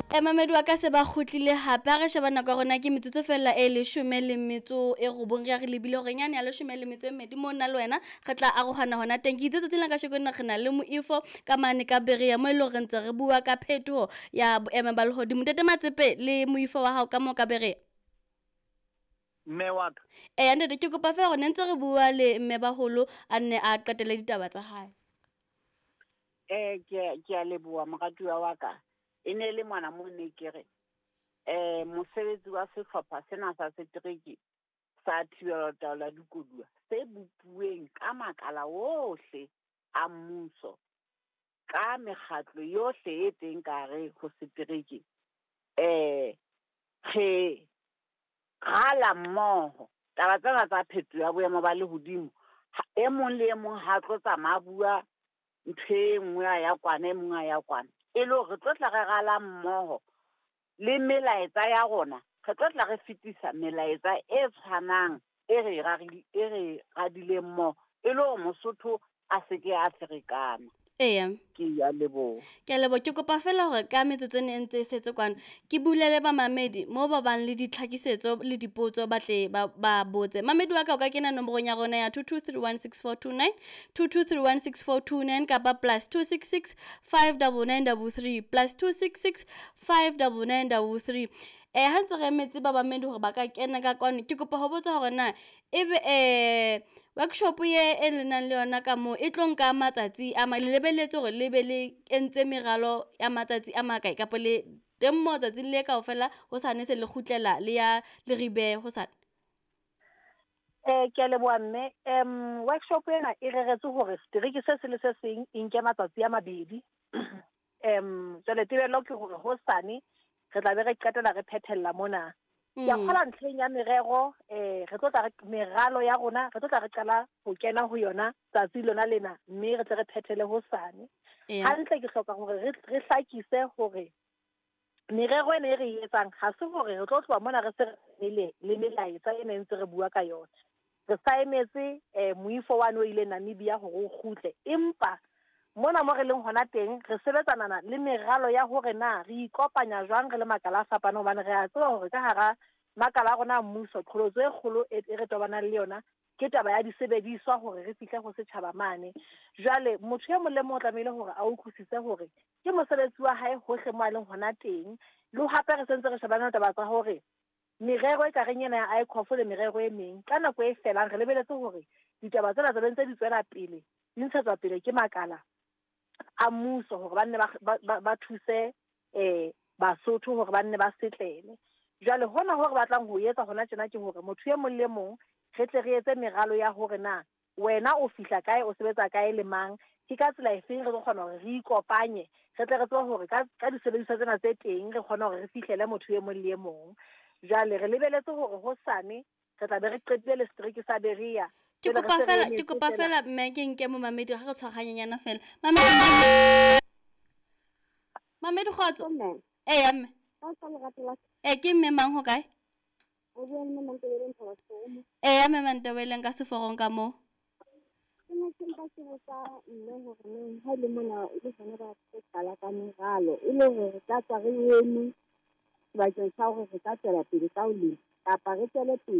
Mamedi wa ka se ba kgutlile hape. Ha re sheba nako ya rona ke metsotso fela e 19, re ya re lebile hore nyane ya 12 mo nna le wena re tla arohana hona teng. Ke itse tsatsing la kasheko lena re na le moifo ka mane ka Berea mo e leng hore re ntse re bua ka phetoho ya boemo ba lehodimo. Ntate Matsepe le moifo wa hao ka moo ka Berea. Mme wa ka. Eya ntate, ke kopa fela hore ne ntse re bua le mme baholo a nne a qetele ditaba tsa hae. Ke a leboha moratuwa wa ka. E ne le mona mo ne ke re mosebetsi wa sehlopha sena sa setereke sa thibelo taolo ya dikoduwa se bopuweng ka makala ohle a mmuso, ka mekgatlo yohle e teng ka hare ho setereke, re rala mmoho taba tsena tsa phetoho ya boemo ba lehodimo. E mong le e mong ha tlo tsamaya bua ntho e nngwe a ya kwana, e mong a ya kwana. E le hore re tlo tla re rala mmoho le melaetsa ya rona, re tlo tla re fetisa melaetsa e tshwanang e re radileng mmoho, e le hore Mosotho a se ke a ferekana. Eya. Ke a leboha. Ke a leboha. Ke kopa fela hore ka metsotso e ntse e setse kwano ke bulele bamamedi mo ba bang le ditlhakisetso le dipotso ba tle ba botse. Mamedi wa ka o ka kena nomorong ya rona ya 22316429, 22316429 kapa +266 59933, +266 59933. Ha ntse re emetse ba bamedi hore ba ka kena ka kwano, ke kopa ho botsa hore na ebe workshop ye e le nang le yona ka moo e tlo nka matsatsi a le lebelletse hore le be le entse meralo ya matsatsi a makae, kapa le teng moo tsatsing le kaofela hosane se le kgutlela le ya Leribe hosane? Ke a leboha mme. Workshop ena e reretswe hore setereke se seng le se seng e nke matsatsi a mabedi. Jwale tebello ke hore hosane re tla be re qetela re phethella mona. Ke a kgola ntlheng ya merero, re tlo tla re meralo ya rona, re tlo tla re qala ho kena ho yona tsatsi lona lena, mme re tle re phethele hosane. Hantle ke hloka hore re hlakise hore merero ena e re e etsang ha se hore re tlo tloha mona re se re le melaetsa ena e ntse re bua ka yona. Re sa emetse moifo wane o ile Namibia hore o kgutle, empa mona mo re leng hona teng re sebetsanana le meralo ya hore na re ikopanya jwang re le makala a fapaneng, hobane re a tseba hore ka hara makala a rona a mmuso qholotso e kgolo e re tobanang le yona ke taba ya disebediswa hore re fihle ho setjhaba mane. Jwale motho e mong le mong o tlamehile hore a utlwisise hore ke mosebetsi wa hae hohle mo a leng hona teng. Le hape re sentse re shebana le taba tsa hore merero e kareng ena ya ICOF le merero e meng ka nako e felang re lebeletse hore ditaba tsena tse ntse di tswela pele, di ntshetswa pele ke makala a mmuso hore ba nne ba thuse Basotho hore ba nne ba setlele. Jwale hona hore batlang ho etsa hona tjena ke hore motho e mong le mong re tle re etse meralo ya hore na wena o fihla kae, o sebetsa kae le mang, ke ka tsela efeng re tlo kgona hore re ikopanye, re tle re tsebe hore ka disebediswa tsena tse teng re kgone hore re fihlele motho e mong le e mong. Jwale re lebeletse hore hosane re tla be re qetile le setereke sa Berea. Ke kopa fela mme ke nke momamedi ha re tshwaraganyana fela. Mamedi kgotso. Eya mme. Ke mme mang ho kae? Eya mme Mantebeleng ka seforong ka moo. Ke ne ke mpa ke botsa mme hore neng ha le mona e le hona ba qala ka meralo e le hore re ka tswa re eme sebakeng sa hore re ka tswela pele ka ho lema kapa re tswele pele.